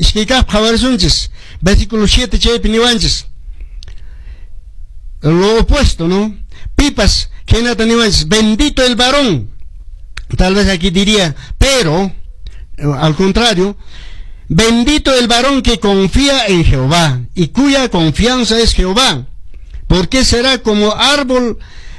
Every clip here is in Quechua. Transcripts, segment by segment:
Iskay kaq qhawarisunchis. Versículo 7 chaypi niwanchis. Lo opuesto, ¿no? Pipas, khaynata niwanchis, bendito el varón. Tal vez aquí diría, pero, al contrario, bendito el varón que confía en Jehová y cuya confianza es Jehová, porque será como árbol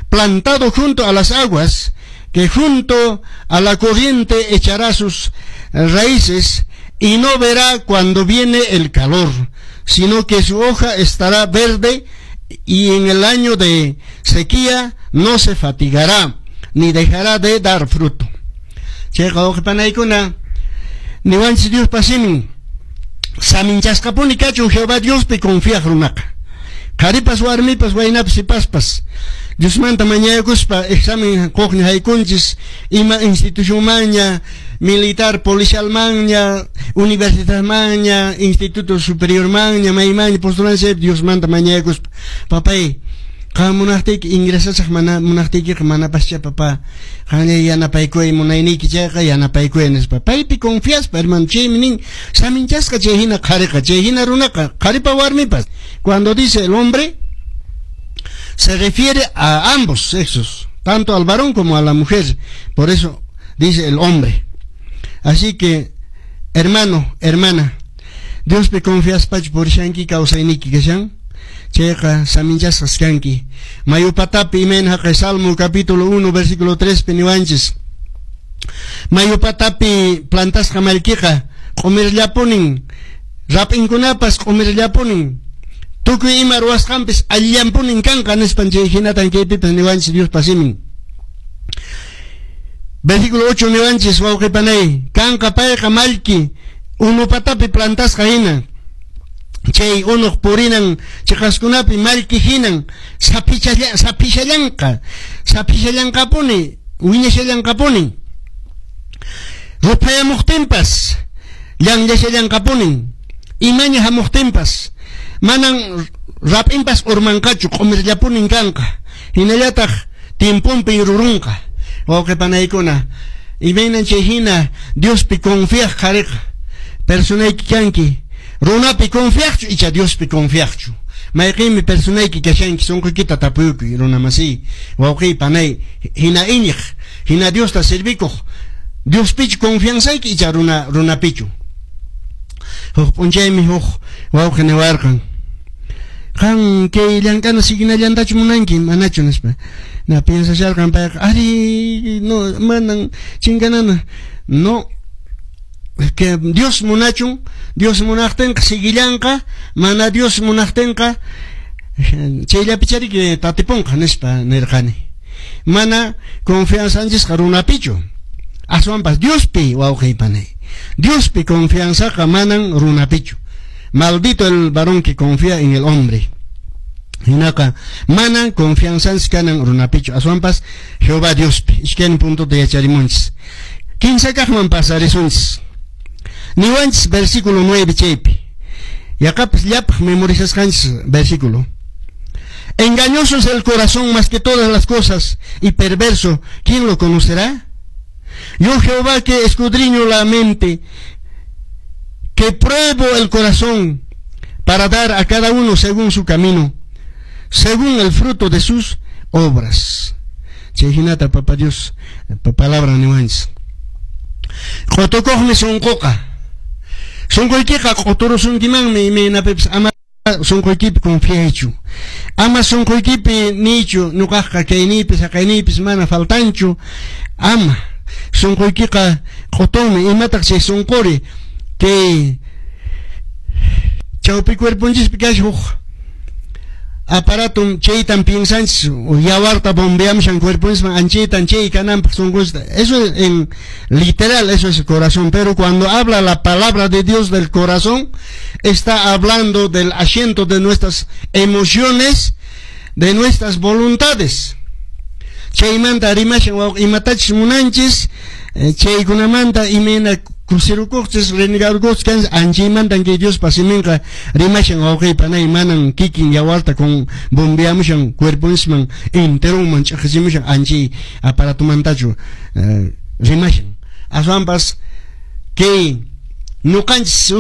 plantado junto a las aguas, que junto a la corriente echará sus raíces y no verá cuando viene el calor, sino que su hoja estará verde y en el año de sequía no se fatigará, ni dejará de dar fruto. Chayqa wawqipanaykuna, niwanchis Diospa simin, saminchasqapuni kachun Jehová Diospi confiaq runaqa. Qharipas warmipas waynapas sipaspas Diosmanta mañakuspa examen quqña haykunchis ima institucionmanña, militar, policialmanña, universidadmanña, instituto superiormanña, maymanña postulancia Diosmanta mañakuspa. Papay, qam munaqtiyki ingresasaq, mana munaqtiykiqa manapascha, papá. Qanlla yanapaykuy, munayniyki chayqa yanapaykuy nispa. Paypi confiaspa, hermano, chaymi nin saminchasqa chay hina qhariqa, chay hina runaqa, qharipa warmipas. Cuando dice el hombre, se refiere a ambos sexos, tanto al varón como a la mujer. Por eso dice el hombre. Así que, hermano, hermana, Diospi confiaspachu purishanki, kawsayniyki kashan, chayqa saminchasqas kanki. Mayu patapi imayna haqay Salmo capítulo 1 versículo 3 pi niwanchis. Mayu patapi plantasqa mallkiqa q'umirllapunin, rap'inkunapas q'umirllapunin, tukuy ima ruwasqanpis allillanpunin kanqa nispan, chay hinatan kaypipas niwanchis Diospa simin. Versículo 8 niwanchis, wawqipanay, kanqa payqa mallki unu patapi plantasqa hina, chay unuq purinan chiqaskunapi mallki hinan saphishallanqa, saphishallanqapuni, wiñashallanqapuni, ruphayamuqtinpas llanllashallanqapuni, imaña hamuqtinpas manan rap'inpas urmanqachu, q'umirllapunin kanqa, hinallataq tiemponpi rurunqa. Wawqipanaykuna, imaynan chay hina Diospi confiaq qhariqa personayki kanki, runapi confiaqchu icha Diospi confiaqchu? Mayqinmi personayki kashanki? Sunquykita tapuykuy, runa masiy, wawqiy, panay, hina iñiq, hina Diosta servikuq, Diospichu confianzayki icha runapichu? Huk p'unchaymi huk wawqi niwarqan, qan kay llank'ana siginallantachu munanki, manachu nispa. Na piensasharqan payqa, ari, no, manan chinkanana. No, que Dios munachun, Dios munaqtinqa siguillanqa, mana Dios munaqtinqa chayllapi tatipunqa nispa nirqani. Mana confianzanchisqa runapichu, aswanpas Diospi, wawqiy, panay. Diospi confianzaqa manan runapichu. Maldito el varón que confía en el hombre. Hinaqa manan confianzanchis kanan runapichu, aswanpas Jehová Diospi. Iskaynin puntota yacharimunchis. Kinsa kaqman pasarisunchis. Niwanchis versículo 9 chaypi. Yaqapas llapaq memorizasqanchis versículo. Engañoso es el corazón más que todas las cosas y perverso, ¿quién lo conocerá? Yo, Jehová, que escudriño la mente, que pruebo el corazón para dar a cada uno según su camino, según el fruto de sus obras. Chay hinata Papá Dios palabra niwanchis. Q'utukuqmi sunquqa. Sunquykiqa q'uturusunkimanmi imaynapipas, ama sunquykipi confiaychu. Ama sunquykipi niychu ñuqaqqa kayniypis haqayniypis mana faltanchu. Ama sunquykiqa q'utunmi. Imataq chay sunquri? Kay chawpi cuerponchispi kashan huk aparato, chaytan piensanchis yawarta bombeamushan cuerponchisman, anchaytan chay kananpaq sunqunchista. Eso en literal, eso es el corazón, pero cuando habla la palabra de Dios del corazón, está hablando del asiento de nuestras emociones, de nuestras voluntades. Chaymanta rimashan, imatachus munanchis, chaykunamanta imayna kusirukuqchis, renegarukuqchis kanchis, anchaymantan kay Diospa siminqa rimashan, wawqiy, panay, manan kikin yawarta con bombeamushan cuerponchisman enteronman ch'iqichimushan anchay aparatomantachu rimashan, aswanpas kay ñuqanchis.